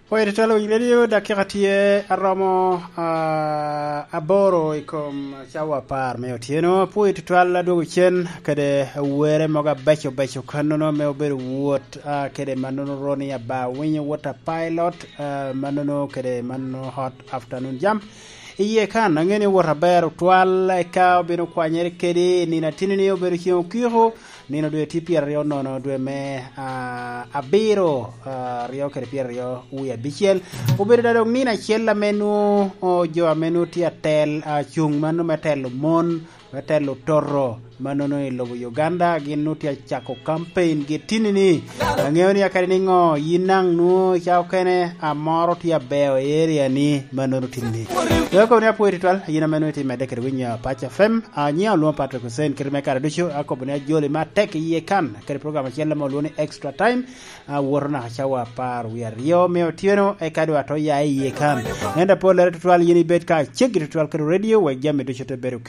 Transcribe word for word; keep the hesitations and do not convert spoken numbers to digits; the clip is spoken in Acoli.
Poi tutwal winyo radio dakika tye aromo uh, aboro i kom cawa apar me otyeno poi tutwal adwogo cen kede were mogo abeco beco kanono me obedo wot uh, kede manono roni aba winyo wot a pilot uh, manono kede manono hot afternoon jam iye kan ang'e ni wot aber otwal eka obino kwanyere kedi nino atini ni obedo chieng okiko nino dwe tye pyero aryo nono dwe me uh, abiro uh, aryo kede pyero aryo wiye abicel obedo da dong nino acel ame nwo oh, jo ame nwo tye atel uh, cung mano me telo mon me telo toro manono i lobo Uganda gin nwo tye acako campaign gi tini ni ang'eyo ni akadi ni ng'o yin nang nwo ca okene amoro tye abeo i area ni manono tini ni Weko ni apwoyo tutwal yin ame nwo iti medde kede winyo Pac F M uh, nyinga oluongo Patrick Hussein kite me kare ducu akobo ni ajoli matek iye kan kede program achiel ma oluongo ni Extra Time uh, wuoto naka cawa apar wiye aryo me otieno eka dwa to ya iye kan ento pol lere tutwal yin ibed ka ceggi tutwal kede radio wek jami ducu te bedo.